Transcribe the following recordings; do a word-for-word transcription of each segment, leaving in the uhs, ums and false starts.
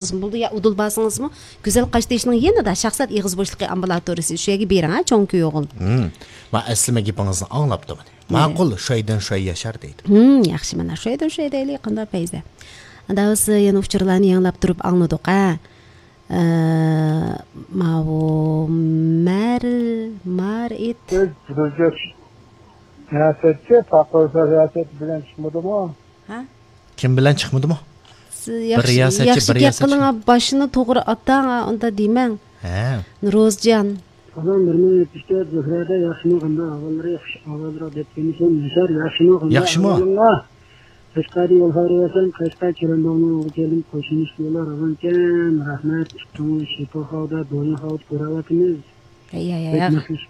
بولىدۇ، يا ئۇدۇل بارسىڭىزمۇ، گۈزەل قاشتېشىنىڭ يېنىدا شاھزات ئېغىز بوشلۇقى ئامبۇلاتورىيىسى، شۇ يەرگە بېرىڭ، ھە، چوڭ كۆل ئوغۇل. ھىم. مانا ئەسلىمە گېپىڭىزنى ئاڭلاپتىمەن. ماقۇل، شايدىن شاي ياشار دەيدۇ. ھىم، ياخشى، مانا شايدىن شاي دەيلى، قانداق پەيزە. ئاندا بىز يەنە ئۇچۇرلارنى ياڭلاپ تۇرۇپ ئاڭلىدۇق، ھە. ئە، ماۋۇ مەر-، مارىت. سىز رىياسەتچى، پاقىر رىياسەت بىلەن چىقمىدىمۇ؟ ھە؟ كىم بىلەن چىقمىدىمۇ؟ سىز بىر ياخشى، رىياسەتچى، ياخشى بىر گەپ رىياسەتچى. قىلىڭ، ھە، باشنى توغرا ئاتاڭ، ھە، ئۇندا دېمەڭ. ھە. نۇرۇزجان. سالام، بىر مىڭ يەتمىش تۆت زۆھرەدە ياخشىمۇ، قانداق ئەھۋاللىرى؟ ياخشى، ئاۋازراق دەپ كېلىشىڭ. ياشار، ياخشىمۇ، قانداق ياخشىمۇ؟ ئەھۋالىڭلار؟ قەشقەردىن يول خەۋىرى بەرسەم، قەشقەر كېرەنداۋنىڭ ئوغلى كەلدىم، قوشنىش دېيىلار، ئاغام ئىكەن. رەھمەت، ئىككىڭلار شىپا خاۋدا، دويۇن خاۋدا كۆرۈۋاتىمىز. ھەي، ھەي، ھەي، بەك ھەي. نەقىش.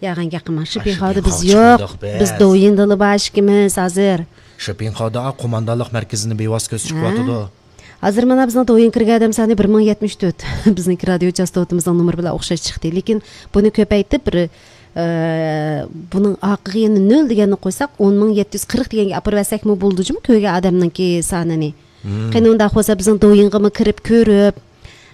ياغان گەپ قىلماڭ. شىپىن خاۋدا بىز يوق. بىز دويىندىلا بار ئىككىمىز ھازىر. شىپىن خاۋدا قوماندانلىق مەركىزىنى بىۋاسىتە كۆزىتىپ چىقىۋاتىدۇ. ھازىر مانا بىزنىڭ دويىن كىرگەن ئادەم سانى بىر مىڭ يەتمىش تۆت. بىزنىڭكى رادىيو چاستوتىمىزنىڭ نومۇرى بىلەن ئوخشاش چىقتى. لېكىن بۇنى كۆپەيتىپ، بىر، ئە، بۇنىڭ ئارقىغا يەنە نۆل دېگەننى قويساق، ئون مىڭ يەتتە يۈز قىرىق دېگەنگە ئاپىرىۋەتسەكمۇ بولىدۇ جۇمۇ، كۆرگەن ئادەمنىڭكى سانىنى. قېنى ئۇنداق بولسا بىزنىڭ دويىنغىمۇ كىرىپ كۆرۈپ،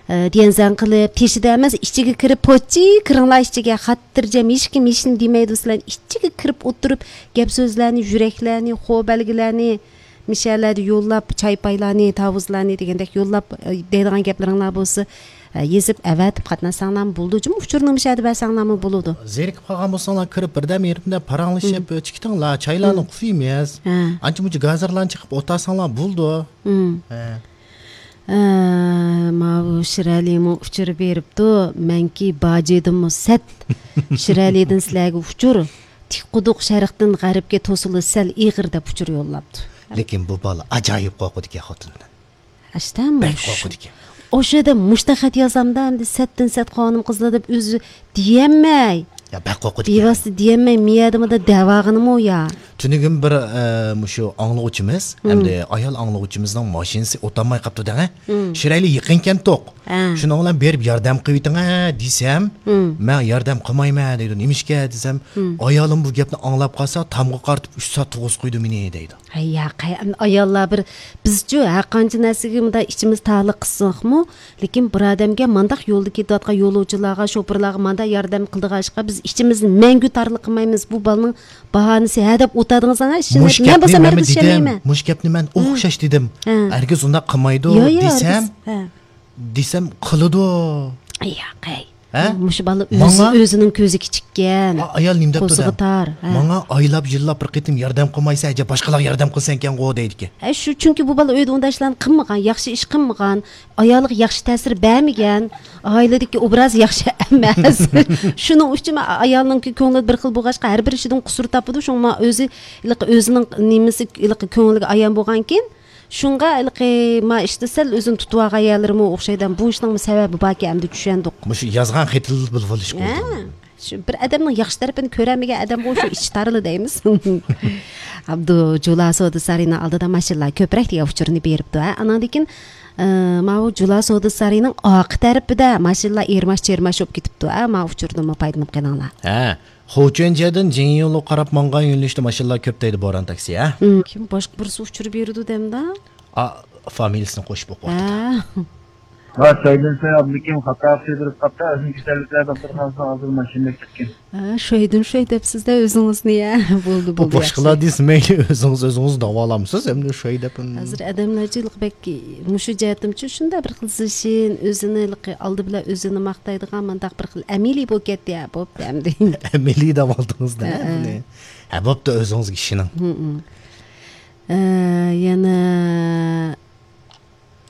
ئە، دىيەنزەن قىلىپ، تېشىدا ئەمەس، ئىچىگە كىرىپ، پوچى كىرىڭلار ئىچىگە، خاتىرجەم، ھېچكىم ھېچنېمە دېمەيدۇ، سىلەرنى ئىچىگە كىرىپ ئولتۇرۇپ، گەپ سۆزلەرنى، يۈرەكلەرنى، خو بەلگىلەرنى، مىشەلەرنى يوللاپ، چاي پايلارنى، تاۋۇزلارنى دېگەندەك يوللاپ، ئە، دەيدىغان گەپلىرىڭلار بولسا، ئە، يېزىپ ئەۋەتىپ قاتناشساڭلارمۇ بولىدۇ جۇمۇ، ئۇچۇرنى مىشەدە بەرسەڭلارمۇ بولىدۇ. زېرىكىپ قالغان بولساڭلار كىرىپ بىردەم يېرىمدە پاراڭلىشىپ، چىقىتىڭلار، چايلارنى قۇيىمىز. ھە. ئانچە مۇنچە گازىرلارنى چېقىپ ئولتۇرساڭلار بولىدۇ. ھە. ئە، ماۋۇ شىرئەلىمۇ ئۇچۇر بېرىپتۇ، مەنكى باجىدىمۇ سەت. شىرئەلىدىن سىلەرگە ئۇچۇر، تىك قۇدۇق شەرقتىن غەربكە توسۇلۇش سەل ئېغىر دەپ ئۇچۇر يوللاپتۇ. لېكىن بۇ بالا ئاجايىپ قورقىدىكەن خوتۇندىن. ئاشتا بەك مۇش-، قورقىدىكەن. ئوشۇ يەردە مۇشتا خەت يازامدا، ئەمدى سەتتىن سەت خانىم قىزلار دەپ ئۆزى دېيەلمەي. يا، بەك قورقىدىكەن. بىۋاسىتە دېيەلمەي، مىيەدىمۇ دەۋاغىنىمۇ يا. تۈنۈگۈن بىر، ئە، مۇشۇ ئاڭلىغۇچىمىز، ھەمدە ئايال ئاڭلىغۇچىمىزنىڭ ماشىنىسى ئولتۇرماي قاپتۇ دەڭە. شىرئەلى يېقىنكەنتۇق. ھە. شۇنىڭ بىلەن بېرىپ ياردەم قىلىۋېتىڭە دېسەم، مەن ياردەم قىلمايمەن دەيدۇ. نېمىشقا دېسەم، ئايالىم بۇ گەپنى ئاڭلاپ قالسا، تامغا قارىتىپ ئۈچ سائەت تۇرغۇزۇپ قويىدۇ مېنى دەيدۇ. ھەي، ياق، ھەي، ئەمدى ئاياللار بىر، بىزچۇ ھەر قانچە نەرسىگە مۇنداق ئىچىمىز تارلىق قىلساقمۇ، لېكىن بىر ئادەمگە مانداق يولدا كېتىۋاتقان يولۇچىلارغا، شوپۇرلارغا مانداق ياردەم قىلىدىغان ئىشقا بىز ئىچىمىزنى مەڭگۈ تارلىق قىلمايمىز. بۇ بالىنىڭ باھانىسى ھە دەپ ئولتۇرىدىغىنىڭلار، مەن بولسام ھەرگىز ئىشەنمەيمەن. مۇشۇ گەپنى مەن ئوخشاش دېدىم. ھە. ھەرگىز ئۇنداق قىلمايدۇ دېسەم، ھە. دېسەم قىلىدۇ. ياق، ھەي. ھە؟ مۇشۇ بالا ئۆزى، ماڭا؟ ئۆزىنىڭ كۆزى كىچىككەن. ئا-، ئايال نېمە دەپتۇ قورسىقى دە؟ تار. ھە. ماڭا ئايلاپ يىللاپ بىر قېتىم ياردەم قىلمايسەن، ئەجەب باشقىلارغا ياردەم قىلسەنكەنغۇ دەيدىكەن. ھە، شۇ، چۈنكى بۇ بالا ئۆيدە ئۇنداق ئىشلارنى قىلمىغان، ياخشى ئىش قىلمىغان، ئايالىغا ياخشى تەسىر بەرمىگەن، ئائىلىدىكى ئوبرازى ياخشى ئەمەس. شۇنىڭ ئۈچۈن ئايالنىڭكى كۆڭلى بىر خىل بولغاچقا، ھەر بىر ئىشىدىن قۇسۇر تاپىدۇ. شۇڭا ئۆزى، ئۆزىنىڭ نېمىسى، كۆڭلىگە ئايان بولغانكىن، شۇڭا ھېلىقى ما ئىشتا سەل ئۆزىنى تۇتۇۋالغان يەرلىرىمۇ ئوخشايدۇ. بۇ ئىشنىڭمۇ سەۋەبى باركەن، ئەمدى چۈشەندۇق. مۇشۇ يازغان خېتىدىلا بىلىۋېلىشقا بولىدۇ. ھە، شۇ بىر ئادەمنىڭ ياخشى تەرىپىنى كۆرەلمىگەن ئادەمغۇ شۇ ئىچى تارىلا دەيمىز. ئابدۇ جۇلا سودا سارىيىنىڭ ئالدىدا ماشىنىلار كۆپرەك دېگەن ئۇچۇرنى بېرىپتۇ. ھە، ئاناندىن كېيىن، ئە، ماۋۇ جۇلا سودا سارىيىنىڭ ئارقا تەرىپىدە ماشىنىلار ئېرماش چېرماش بولۇپ كېتىپتۇ. ھە، ماۋۇ ئۇچۇردىنمۇ پايدىلىنىپ قېلىڭلار. ھە، خۇچۈەنجيەدىن جىڭيۇلۇغا قاراپ ماڭغان يۆنىلىشتە ماشىنىلار كۆپ دەيدۇ، بوران تاكسى، ھە؟ ھىم. كىم باشقا بىرسى ئۇچۇر بېرىدۇ دەمدە؟ ئا، فامىلىسىنى قوشۇپ ئوقۇۋاتىدۇ. ھە. ۋە سايدىن ساي ئابدۇكىم خاتا سىيدۇرۇپ قاپتا، ئۆزىنىڭ كېسەللىكلەر دوختۇرخانىسىنىڭ ئالدىدا ماشىنىدا كەتكەن. ھە، شويدۇن شوي دەپسىز-دە ئۆزىڭىزنى، يا. بولدى، بۇ بولدى، باشقىلار ياخشى. دېسە مەيلى، ئۆزىڭىز ئۆزىڭىزنى داۋالامسىز، ئەمدى شوي دەپ. ھازىر ئادەملەرچە بەك مۇشۇ جەھەتتىمچۇ شۇنداق بىر خىل زىشىن، ئۆزىنى ھېلىقى ئالدى بىلەن ئۆزىنى ماختايدىغان مانداق بىر خىل ئەمەلىي بولۇپ كەتتى، ھە، بوپتۇ ئەمدى. ئەمەلىي دەۋالدىڭىز-دە، ھە، ھە. بۇنى. ھە، بوپتۇ، ئۆزىڭىزگە ئىشىنىڭ. ھىم، ھىم. ئە، يەنە،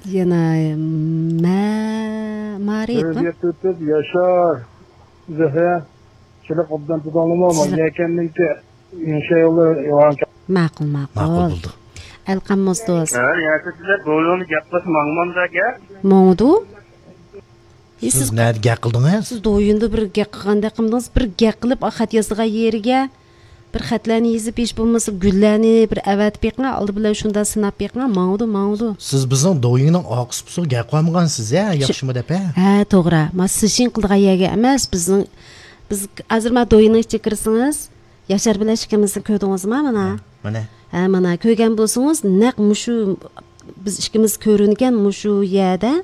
يەنە مە-، مارىيەتمۇ؟ ئۆزگەرتىۋېتىپ ياشار، زۆھرە، چىلىق ئوبدان تۇتۇڭلىمۇ، سىلەر يەكەننىڭكى ياشايولى يوغان. ماقۇل، ماقۇل. ماقۇل بولدى. ئەلقەم موزدوز. ھە، يەتە سىلەر بۇ يولنى گەپ قىلسا ماڭمامدا گەپ. ماڭىدۇ. سىز نەدە گەپ قىلدىڭىز؟ سىز دويۇندا بىر گەپ قىلغاندەك قىلمىدىڭىز؟ بىر گەپ قىلىپ، ئا، خەت يازىدىغان يېرىگە بىر خەتلەرنى يېزىپ، ھېچ بولمىسا گۈللەرنى بىر ئەۋەتىپ بېقىڭ، ئالدى بىلەن شۇنداق سىناپ بېقىڭ، ماڭىدۇ، ماڭىدۇ. سىز بىزنىڭ دويۇننىڭ ئارقىسى بۇسۇغا گەپ قىلالمىغانسىز ھە، شۇ، ياخشىمۇ دەپ ھە؟ ھە، توغرا. ما سىشىن قىلىدىغان يەرگە ئەمەس، بىزنىڭ، بىز ھازىر ما دويۇننىڭ ئىچىگە كىرسىڭىز، ياشار بىلەن ئىككىمىزنى كۆردىڭىزما مانا؟ ھە، مانا. ھە، مانا كۆرگەن بولسىڭىز، نەق مۇشۇ بىز ئىككىمىز كۆرۈنگەن مۇشۇ يەردە